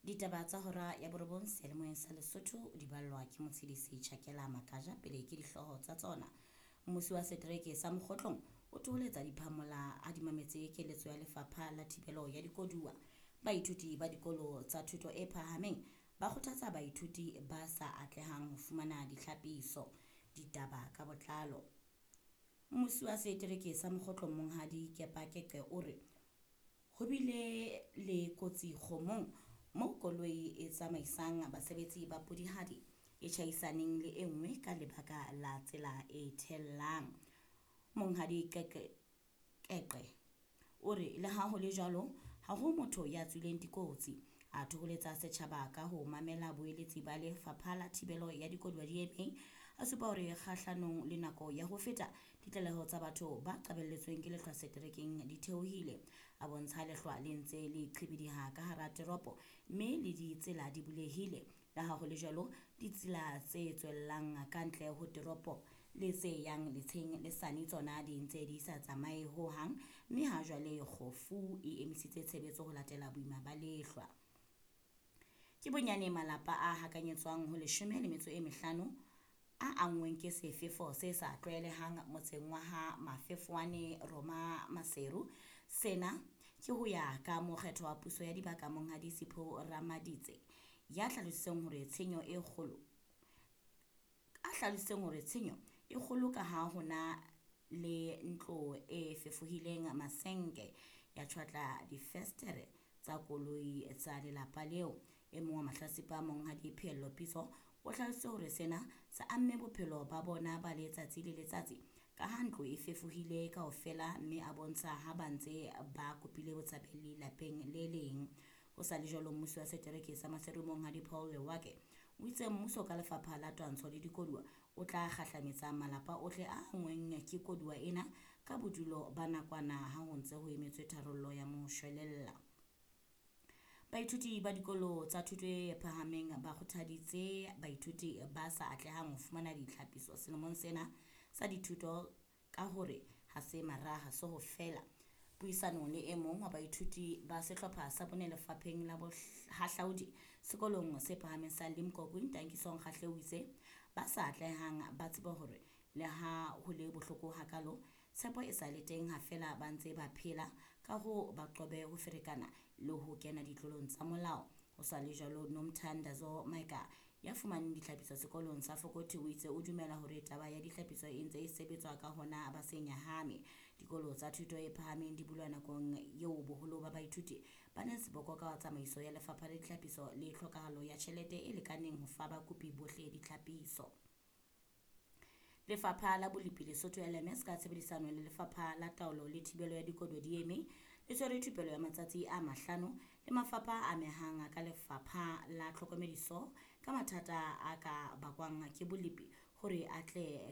Ditaba tsa hora ya borobong seyalemoyeng sa Lesotho di ballwa ke Motshedisi Chakela Makaja pele ke dihlooho tsa tsona. Mmusi wa setereke sa Mokgotlong o thoholetsa diphamola a di mametse keletso ya lefapha la thibelo ya dikoduwa. Baithuti ba dikolo tsa thuto e phahameng ba kgothatsa baithuti ba sa atlehang ho fumana ditlhapiso. Ditaba ka botlalo. Mmusi wa setereke sa Mokgotlong Monghadi Kepa Keqe o re ho bile le kotsi kgomong moo koloi e tsamaisang basebetsi ba Pudihadi e tjhaisaneng le e nngwe ka lebaka la tsela e thellang. Monghadi Keqe o re le ha ho le jwalo ha ho motho ya tswileng dikotsi. A thoholetsa setjhaba ka ho mamela boeletsi ba lefapha la thibelo ya dikoduwa DMA. A supa hore kgahlanong le nako ya ho feta ditlaleho tsa batho ba qabelletsweng ke lehlwa seterekeng di theohile. A bontsha lehlwa le ntse le qhibidiha ka hara teropo mme le ditsela di bulehile. Le ha ho le jwalo ditsela tse tswellang ka ntle ho teropo le tse yang letsheng le sane tsona di ntse di sa tsamaye ho hang mme ha jwale kgofu e emisitse tshebetso ho latela boima ba lehlwa. Ke bonyane malapa a hakanyetswang ho 15 a anngweng ke sefefo se sa tlwaelehang motseng wa ha Mafefowane Roma Maseru. Sena ke ho ya ka mokgetho wa puso ya dibaka Monghadi Sipho Ramaditse ya hlalositseng hore tshenyo e kgolo a hlalositseng hore tshenyo e kgolo ka ha hona le ntlo e fefohileng masenke ya tjhwatla difestere tsa koloi tsa lelapa leo. E mong wa mahlatsipa Monghadi Pheello Pitso o hlalositse hore sena se amme bophelo ba bona ba letsatsi le letsatsi ka ha ntlo e fefohile kaofela mme a bontsha ha ba ntse ba kopile botshabeli lapeng le leng. Ho sa le jwalo mmusi wa setereke sa Maseru Monghadi Paul Lewake o itse mmuso ka lefapha la twantsho le dikoduwa o tla kgahlametsa malapa ohle a anngweng ke koduwa ena ka bodulo ba nakwana ha ho ntse ho emetswe tharollo ya moshwelella. Baithuti ba dikolo tsa thuto e phahameng ba kgothaditse baithuti ba sa atlehang ho fumana ditlhapiso selemong sena sa dithuto ka hore ha se maraha se ho fela. Puisanong le e mong wa baithuti ba sehlopha sa bone lefapheng la bohahlaudi sekolong se phahameng sa Limkokwing Tankiso Kgahle o itse ba sa atlehang ba tsebe hore le ha ho le bohloko hakalo tshepo e sa le teng ha fela ba ntse ba phela ka ho ba qobe ho ferekana le ho kena ditlolong tsa molao. Ho sa le jwalo Nomthandazo Maika ya fumaneng ditlhapiso sekolong sa Fokothi o itse o dumela hore taba ya ditlhapiso e ntse e sebetswa ka hona ba se nyahame. Dikolo tsa thuto e phahameng di bulwa nakong eo boholo ba baithuti ba neng seboko ka tsamaiso ya lefapha la ditlhapiso le tlhokahalo ya tjhelete e lekaneng ho fa bakopi bohle ditlhapiso. Lefapha la Bolepi Lesotho LMS ka tshebedisano le lefapha la taolo le thibelo ya dikoduwa DMA le tshwere thupelo ya matsatsi a 5 le mafapha a amehang ka lefapha la tlhokomediso ka mathata a ka bakwang ke bolepi hore a tle